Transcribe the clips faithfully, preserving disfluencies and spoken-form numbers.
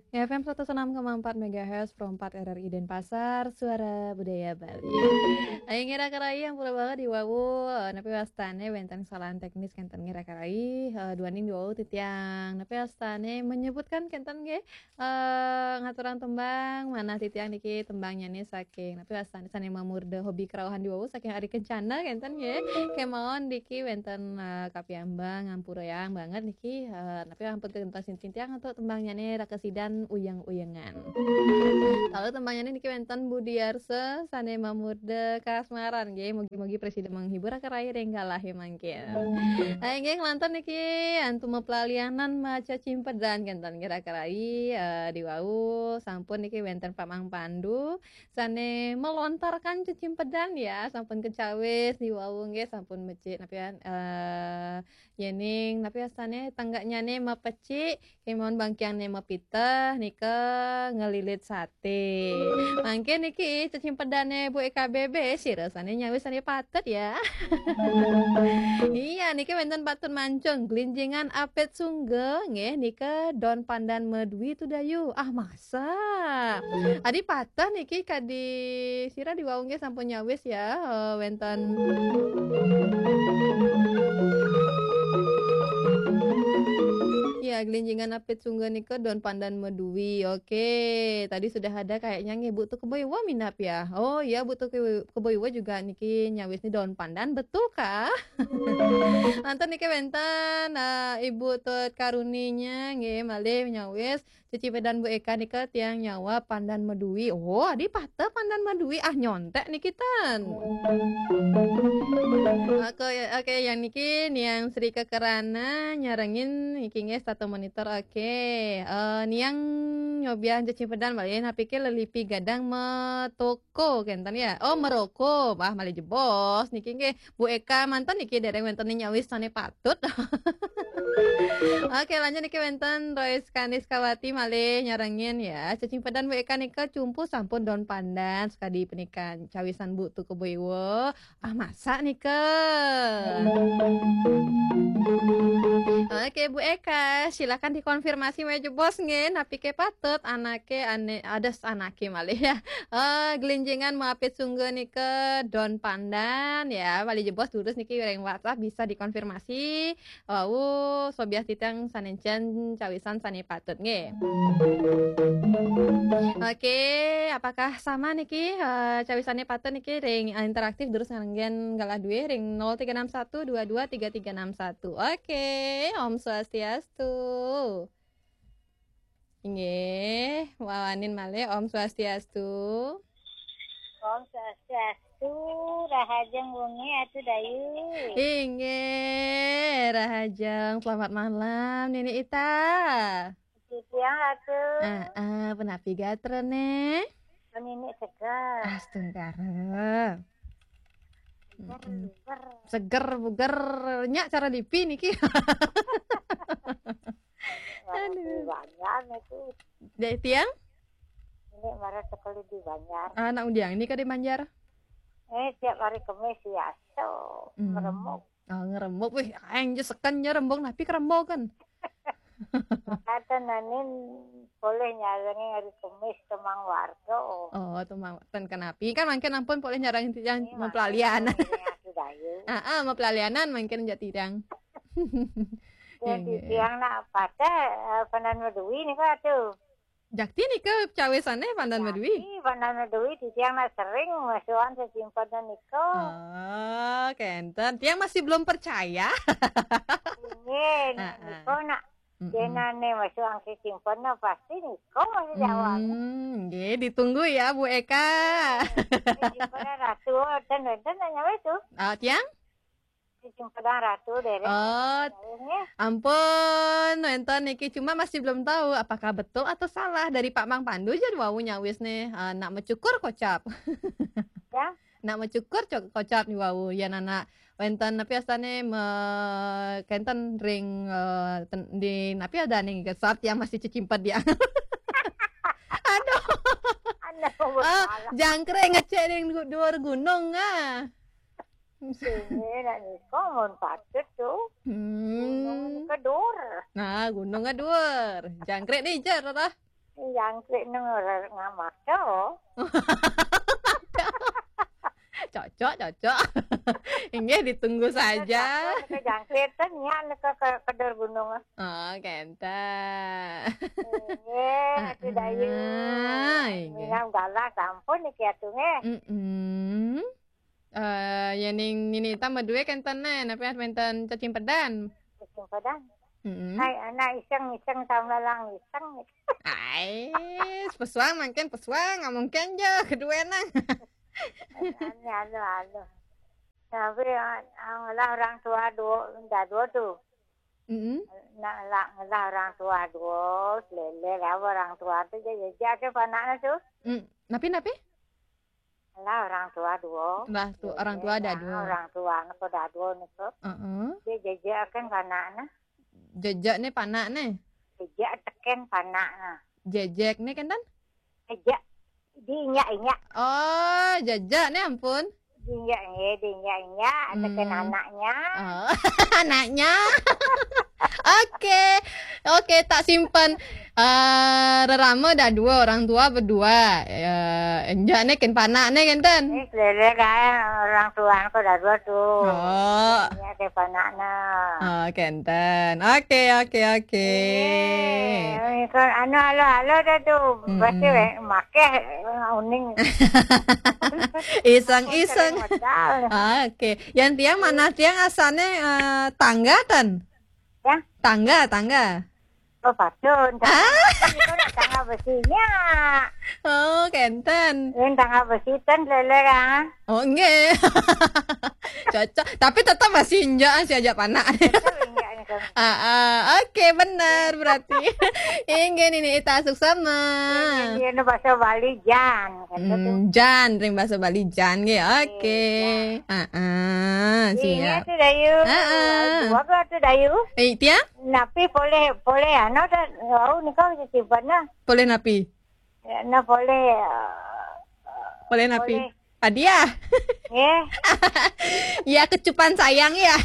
F M seratus enam koma empat megahertz, Pro empat R R I Denpasar, Suara Budaya Bali. Ayo ngira kerai yang pura banget di wawu, eh, napi wastane wenten kesalahan teknis kenten ngira kerai, eh, duaning di wawu titiang. Napi wastane menyebutkan kenten nggih, eh, ngaturang tembang, manah titiang niki tembangnyané saking, napi wastane sane mamurda hobi kerauhan di wawu saking Ari Kencana kenten nggih. Kemawon niki wenten, eh, kapiambang, ngampurayang banget niki, eh, napi ampun kenten sintintiang untuk tembangnyané Raka Sidan Uyeng-uyengan. Lalu tembangnyané niki wenten Budi Arsa sane mamurda kasmaran nggih. Mugi-mugi presida menghibur raka rai ring galahe mangkin. Nah, inggih nglantur niki antu maplalianan maca cimpedan kenten nggih raka rai, eh, di wau sampun niki wenten Pak Mang Pandu sane melontarkan cecimpedan ya, sampun kecawis di wau nggih sampun mecik napi, eh, yening napi wastane tenggaknyane mapecik, kemawon bangkiangne mapiteh nika ngelilit sate. Mangke niki cecimpedane Bu E K B B sira sane nyawis sane patut ya. Iya, niki wenten patut mancung glinjingan apit sungga nggih nika don pandan medwi tudayu. Ah, masa. Adi patah niki kadi sira di wau nggih sampun nyawis ya, eh, wenten. Ya, glinjingan apit sungga nika don pandan medwi. Oke, tadi sudah ada kayaknya nggih Bu Tukeboiwa minap ya. Oh iya, Bu Tuke-, Keboiwa juga niki nyawis ni don pandan, betul kah? Manten niki wenten, eh, Ibu Tut Karuninya nggih malih nyawis cecimpédan Bu Eka nika tiang nyawa pandan medui. Oh, adi pateh pandan medui. Ah, nyontek niki ten. Oke, oke, yang niki Niang Sri Kekerana nyarengin niki nggih statu monitor. Oke. Eh, Niang nyobiah cecimpédan malih napike lelipi gadang metuk ko kenten ya. Oh, meroko. Wah, malih jebos niki nggih. Bu Eka manten niki dereng wenten nyawis sane patut. Oke, lanjut niki wenten Royce Kaniskawati malih nyarengin ya. Cecimpedan Bu Eka nika cumpu sampun don pandan sekadi penikan cawisan Bu Tuku Bu Iwo. Ah, masa nika? Oke, Bu Eka, silakan dikonfirmasi malih jebos nggih, napike patut anake ane, ades anake malih ya. Eh, gelinjingan mapit sungga nika don pandan ya. Malih jebos durus niki ring WhatsApp bisa dikonfirmasi. Wau, sobiah titiang sanencen cawisan sane patut nggih. Oke, apakah sama niki, eh, cawisane patut niki ring interaktif durus nganggen galah duwe ring nol tiga enam satu dua dua tiga tiga enam satu. Oke, Om Swastiastu. Inggih, wawanin malih Om Swastiastu. Om Swastiastu, rahajeng wengi Atu Dayu. Inggih, rahajeng. Selamat malam, Nini Ita. Titiang Atu. Ah, ah, punapi gatrane? Nini seger. Astungkara. Seger, seger. Seger buger. Nya cara lipi niki. Aduh. Banjar itu. Dek tiang? Ini marah sekali di Banjar. Anak undiang ini kade Banjar? Eh, tiap hari Kemis ya, so, hmm, meremuk. Oh, ngeremuk. Wih, aing je seken nyerembuk, napi kerembuk kan? Kata nanin boleh nyalangi hari Kemis temang warga. Oh, temang, ten kenapi. Kan mangkin ampun boleh nyarang yang mempelalian. Ini mapelalianan mangkin jati dang. Yang di tiang nak pada, eh, panan medui ni kok tuh. Jakti nika cawisane pandan medui. Jakti pandan medui di tiang nak sering masukan sesimpannya nika. Oh, kenten. Tiang masih belum percaya. Ini, nika nak jenane masukan sesimpannya pasti nika masih jawab. Hmm, nggih, ditunggu ya, Bu Eka. Sesimpannya ratu, dan, dan, dan, nyawa itu. Ah, tiang? Sing pedang ratu dereng. Oh, ampun, wenten niki cuma masih belum tahu apakah betul atau salah dari Pak Mang Pandu aja wau nyawis nih, eh, nak mecukur kocap. Ya. Nak mecukur co-, kocap nih wau. Ya, nana wenten tapi astane me, kenten ring, eh, ten, di napi ada nih gesat yang masih cecimpet dia. Aduh. Aduh, ah, jangkrik ngecek ring gu-, dua gunung ah. Sini nak nika mun patut tu. Hmm. Gunung kedur. Nah, gunung kedur. Jangkrik ni jer lah. Jangkrik nang ora ngamaka. Cocok, cocok. Inggih, ditunggu saja. Ke jangkrik ten ya, ke, ke, kedul gunung. Oh, kenten. Inggih, Atu Dayu. Ah, inggih. Minam galah sampun niki Atu nggih. Mm-mm. Eh, ya ning nini tambah dua kenten nih, tapi wenten cacing pedan. Cacing pedan. Mm-mm. Hai, anak iseng-iseng, tamlalang iseng. Ai, pesuang mungkin pesuang, nggak mungkin je kedua nang. Anu, anu, anu. Tapi, ah, ah, ngelah orang tua dua, dah dua tu. Mm-mm. Nak ngelah, ngelah orang tua dua, lele lah orang tua tu je, je, je ada panaknya tu. Mm, napi, napi? Ngelah orang tua dua. Lah, tu, orang tua ada dua. Orang tua ni pada dua ni tu. Heeh. Dia jejekan panaknya. Jejak ni panak ni. Jejak teken panaknya. Jejek ni kenten? Jejak. Diinjak-injak. Oh, jejak ni ampun. Diinjak, eh, diinjak-injak, teken anaknya. Oh, anaknya. Oke. Oke, tak simpan. Eh, rerama dah dua, orang tua berdua. Eh, enjak ni ken panak ni kenten. Eh, selera kan orang tua ko dah dua tu. Oh. Ya, ke panaknya. Oh, kenten. Oke, oke, oke. Eh, anu halo-halo dah tu. Mm-mm. Pasti, eh, makeh, eh, uning. Iseng-iseng. Modal. Ah, oke. Yang tiang mana tiang asalnya, eh, tangga ten? Ya? Tangga, tangga. Oh, patun. Ah. Tangga besinya. Oh, kenten. Ini tangga besi ten lele kan? Oh, enggak. Cocok. Tapi tetap masih injak, masih ajak panak. Tetap injak ni kan. Ah, ah. Oke, benar berarti. Inggih, nini Ita suksma. Ini bahasa Bali jan. Hmm, jan, ring bahasa Bali jan nggih. Oke. Iya. Ah, ah, siap. Inggih, Atu Dayu. Ah, ah. Dua ke Atu Dayu? Eh, tiang? Napi poleh, poleh anu dah, wau nika simpan nah. Poleh napi? Ya, nah poleh, eh, poleh napi? Poleh. Hadiah. Ya. Ya, kecupan sayang ya.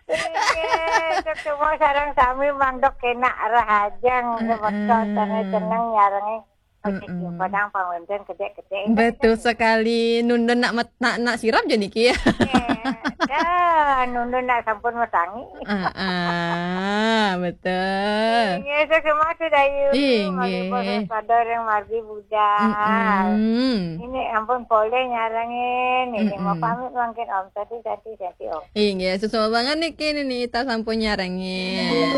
Iya, cuma sarang sami mangdok kena arah ajang, mm-mm, motor tanah seneng nyarangi. Oke, mm-mm. Padang pangwenten kedek-kedek. Betul sekali. Nundun nak met-, nak, nak sirap je niki ya. Iya. Dah, nundun nak sampun metangi. Ah, ah, betul. Inggih, suksma Atu Dayu. Inggih. Malipun pada orang margi budal. Mm-mm. Ini ampun poleh nyarengin. Ini mau, mm-mm, pamit mangkin Om. Tadi, tadi, tadi Om. Inggih, suksma banget niki, nini Ita sampun nyarengin.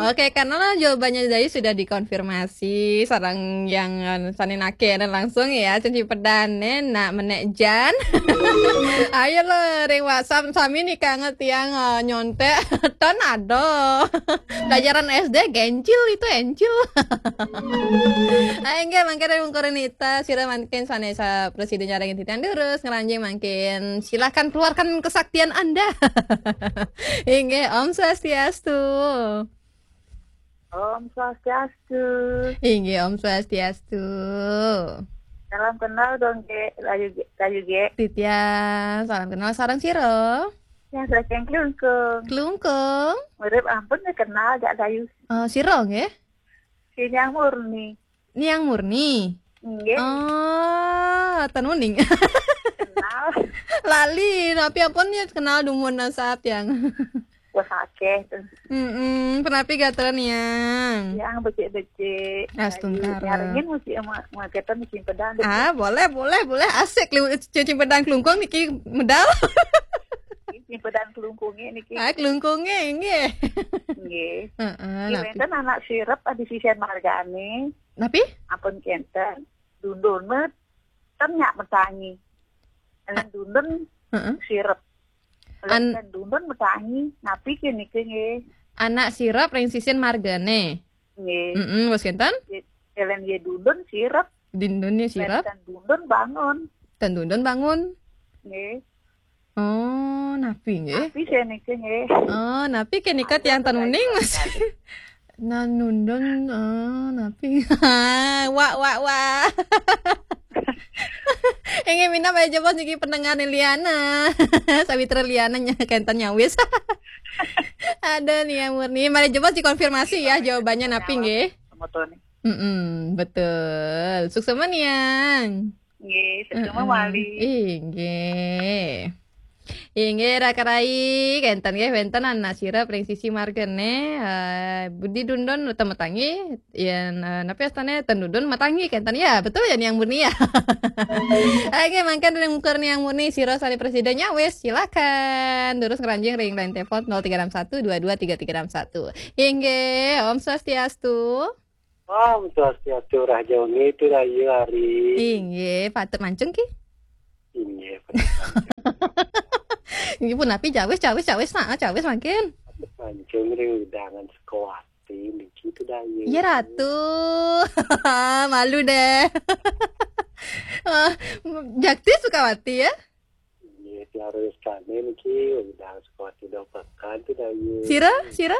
Oke, karena lah jawabannya tadi sudah dikonfirmasi, sareng yang, eh, sane nake langsung ya, cacing pedane nak menek jan. Ayo lo, ring WhatsApp sami nih kangen tiang, eh, nyontek. Ton ado. Pelajaran S D gencil itu encil. Ah, inggih, mangke ring wungkur nita, sira mangkin sanesa presiden nyarengin titiang durus, ngranjing mangkin. Silakan keluarkan kesaktian Anda. Inggih, Om Swastiastu. Om Swastiastu. Inggih, Om Swastiastu. Salam kenal dong, Ge. Layu, Ge. Layu, Ge. Titiang, salam kenal sareng sira. Yang saking Klungkung. Klungkung. Mirip ampun ya kenal, Jak Dayu. Eh, sira nggih? Si Niang Murni. Niang Murni? Nggih. Oh, tenuning. Kenal. Lali, tapi ampun ya kenal dumun nasab yang. Wah, akeh tuh. Mm-mm, penapi gatra Niang? Yang becik-becik. Astungkara. Nyarengin mesti sama, sama kita mesti pedang. Ah, boleh, boleh, boleh. Asik, liwat cacing pedang Klungkung niki medal. Cacing pedang Klungkung niki. Ah, Klungkung nggih. Nggih. Heeh, napi? Wenten anak sirep adi sisian margane. Napi? Ampun kenten. Dundun met. Ten nyak metangi. Alen dundun sirep. Alen dundun metangi. Napi ke niki nggih? Anak sirep ring sisin margane. Nggih. Mm-mm, wis kenten? Alen ye dundun sirep. Dundun ye sirep. Ten dundun bangun. Ten dundun bangun. Nggih. Oh, napi nggih? Napi sih niki nggih? Oh, napi ke nika tiang tenuning, Mas? Nanundun, oh, napi? Wak, wak, wak. Inggih minab, malih jebos niki pendengar ni Liana. Sawitra Liana nya kenten nyawis. Ada nih yang murni. Malih jebos dikonfirmasi ya jawabannya napi nggih? motoné. Mm-mm, betul. Suksma Niang. Nggih, suksma Heeh. Malih. Inggih. Inggih, raka-raka, kénten nggih, wénten anak sira pring sisi margané, eh, Budi Dundun utawi Matangi, yén, eh, napi astané Ten Dundun Matangi, kénten ya, betul ya Niang Murni ya? Inggih, mangkin ring mungkur Niang Murni, sira sané prasida nyawis, silakan. Durus ngranjing ring line telepon nol tiga enam satu dua dua tiga tiga enam satu. Inggih, Om Swastiastu. Om Swastiastu, Raja Wengi, Rahayu Ari. Inggih, patut mancung ki? Inggih, patut mancung. Inggih punapi, cawis, cawis, cawis, nah, cawis mangkin. Patut mancung ring wewidangan Sukawati niki, Rahayu. Iya, Ratu. Malu deh. Ah, Jakti Sukawati ya? Nggih, Pak Rois Kane niki, udah Sukawati dua pekan tuh, Dayu. Sira? Sira?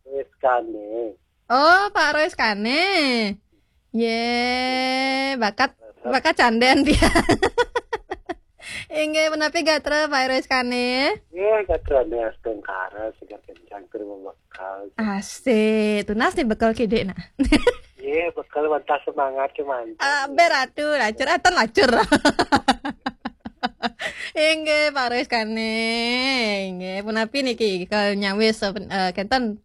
Rois Kane. Oh, Pak Rois Kane. Ye, bakat, bakat candén dia. Inggih, punapi gatra Pak Rois Kane? Nggih, gatra nih astungkara, seger kencang, tur bebekel. Asik, tunas nih bekel kidik, nak. Nggih, bekel wantah semangat kemanten. Ah, ber atuh, lacur, ah, ten lacur. Inggih, Pak Rois Kane. Inggih, punapi niki, kal nyawis, eh, kénten,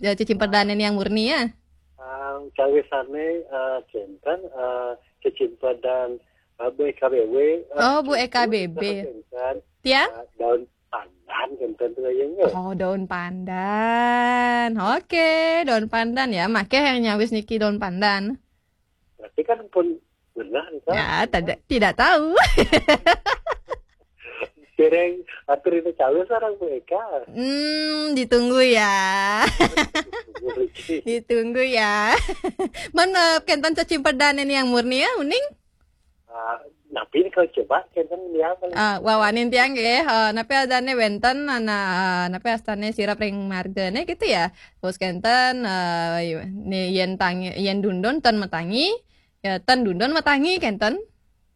eh, cecimpedané Niang Murni ya? Ah, cawisane, eh, kénten, eh, cecimpedan, eh, Bu E K B B, eh, Oh, Bu E K B B. Kénten, Tiang? Eh, daun pandan, kénten tuh ya, nggih. Oh, daun pandan. Oke, daun pandan ya. Makéh nyawis niki daun pandan. Berarti kan pun benar nih, Kak. Ya, tidak, tidak tahu. Dereng atur itu cawe sareng Bu Eka. Hmm, ditunggu ya. Ditunggu lagi. Ditunggu ya. Mana kénten cecimpedan ini yang murni ya, uning? Ah, napi kalau coba kénten dia apa? Ah, wawanin tiang nggih. Eh, napi adané wénten ana, eh, napi astané sira pring margané gitu ya. Terus kénten, eh, ni yén tangi, yén dundun ten matangi, ya ten dundun matangi kénten.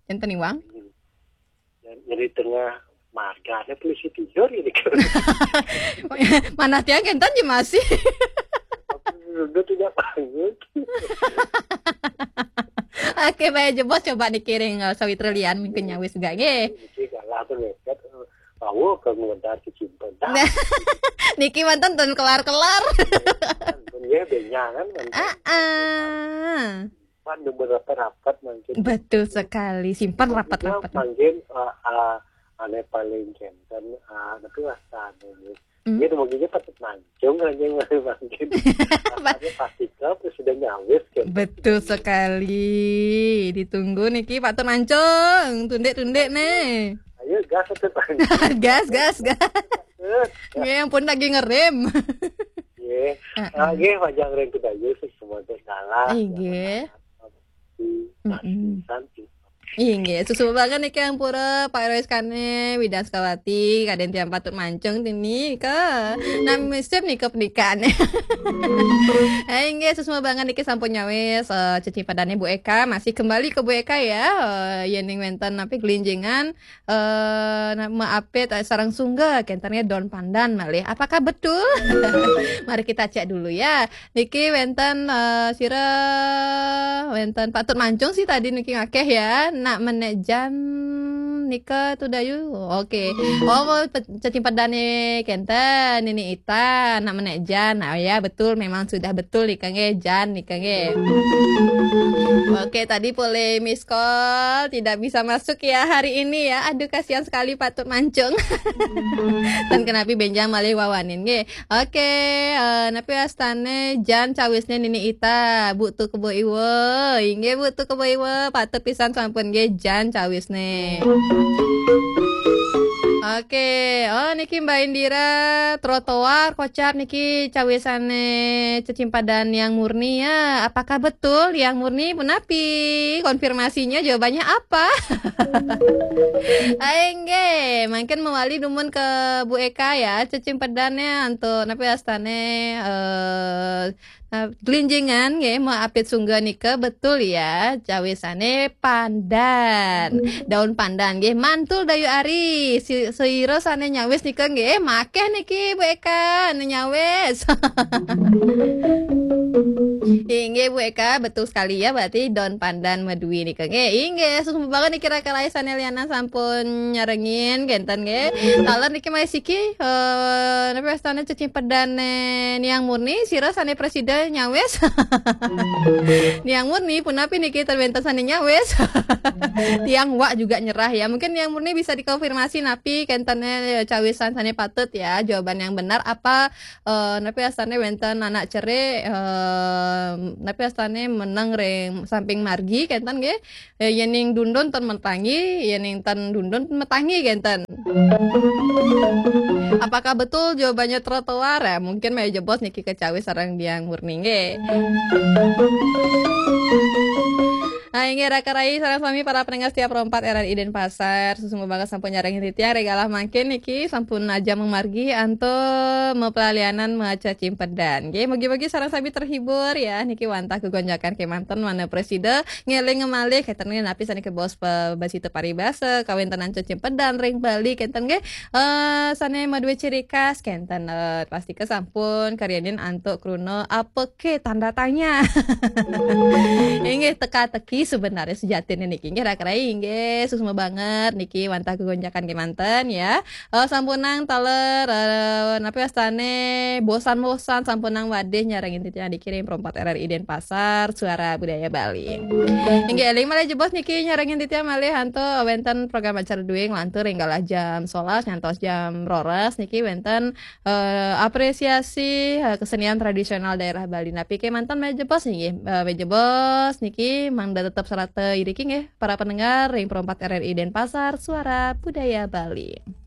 Kénten iwang. Dan jadi tengah margané polisi tidur ini. Mana tiang kénten ya masih. Dundun tidak bangun. Oke, baik, jebos coba dikiring, eh, Sawitra Lian mungkin nyawis juga nggih. Niki kalah tuh mepet, eh, bawa ke ngedar ke Cimpenda. Niki mantan ten kelar-kelar. Pun ya benyangan mantan. Ah, ah. Pan nomor rapat-rapat mungkin. Betul sekali, simpan rapat-rapat. Mungkin, eh, eh, ane paling kénten, eh, tapi rasa ane Hmm. Dia mungkin patut mancung aja mungkin. Rasanya pasti ke sudah nyawis kan. Betul sekali. Ditunggu niki patut mancung, tundik-tundik nih. Ayo gas, patut mancung. Gas, gas, gas. Gas. Nggih, ampun lagi ngerem. Nggih. Heeh. Ah, nggih, panjang rem kudayu, semua salah. Nggih. Mm-mm. Santi. Inggih, suksma banget niki ampura Pak Rois Kane, Widan Sukawati, kadén tiang patut mancung niki. Nami sip nika pernikahan. Eh, inggih, suksma banget niki sampun nyawis, eh, cecimpedané Bu Eka, masih kembali ke Bu Eka ya. Eh, yén ning wénten napi gelinjingan, eh, na-, maapit, eh, sareng sungga, kénten nggih daun pandan malih. Apakah betul? Mari kita cek dulu ya. Niki wénten, eh, sira wénten patut mancung sih tadi niki ngakéh ya. Nak menék jan nika tuh dayu. Oke. Oh, pe-, cecimpedané kénten Nini Ita, nak menék jan. Oh ya, betul, memang sudah betul nika nggih, jan nika nggih. Oke, tadi polih miss call, tidak bisa masuk ya hari ini ya. Aduh, kasihan sekali patut mancung. Ten kenapi bénjang malih wawanin nggih. Oke, eh, napi astané jan cawisné Nini Ita, Bu Tu Kebo Iwa. Inggih, Bu Tu Kebo Iwa, patut pisan sampun nggih jan cawisné. Oke, oh niki Mbak Indira, trotoar kocap niki cawisané cecimpadan Niang Murni ya. Apakah betul Niang Murni punapi? Konfirmasinya jawabannya apa? Ayo nggih, mangkin mawali dumun ke Bu Eka ya, cecimpedané antuk napi astané, eh, nah, gelinjingan nggih, maapit sungga nika betul ya, cawisané pandan. Daun pandan nggih, mantul dayu ari. Si-, sira sané nyawis nika nggih, makéh niki Bu Eka, anu nyawis. Inggih. Ibu Eka, betul sekali ya, berarti daun pandan madui nika nggih. Inggih, suksma banget niki raka rai sané lianan sampun nyarengin kénten nggih. Taler niki malih siki, eh, napi wastané cecimpedané Niang Murni, sira sané prasida nyawis. Niang Murni, punapi niki ten wénten sané nyawis? Tiang wak juga nyerah ya. Mungkin Niang Murni bisa dikonfirmasi napi kéntené cawisan sané patut ya. Jawaban yang benar apa, eh, napi wastané wénten anak cerik, eh, napi wastané meneng ring samping margi kénten nggih. Eh, yéning dundun ten metangi, yéning ten dundun metangi kénten. Apakah betul jawabannya trotoar? Ya, mungkin malih jebos niki kacawis sareng Niang Murni nggih. Nah, inggih raka rai sareng sami para pendengar setia Pro empat R R I Denpasar, suksma banget sampun nyarengin titiang ring galah mangkin niki sampun ajeng mamargi antuk mapalalianan maca cimpedan. Nggih, mugi-mugi sareng sami terhibur ya. Niki wantah gegonjakan kémanten manah prasida ngéling malih kénten nggih napi sané kabaos pabasita paribasa kawéntenan cecimpedan ring Bali kénten nggih. Eh, sané madué ciri khas kénten, eh, pastika sampun karyanin antuk kruna apa ké tanda tanya. Inggih teka-teki sebenarnya sejatiné niki. Inggih raka rai inggih suksma banget niki wantah gegonjakan kémanten ya. Eh, sampunang taler, eh, napi wastané bosan-bosan sampunang wadih nyarengin titiang niki ring Pro empat R R I Denpasar, Suara Budaya Bali. Inggih éling malih jebos niki nyarengin titiang malih antuk wénten program acara dué nglantur ring galah jam solas ngantos jam roras niki wénten, eh, apresiasi, eh, kesenian tradisional daerah Bali. Napi kémanten malih jebos nggih, eh, malih jebos niki mangda tetep sareng iriki nggih para pendengar ring Pro empat R R I Denpasar, Suara Budaya Bali.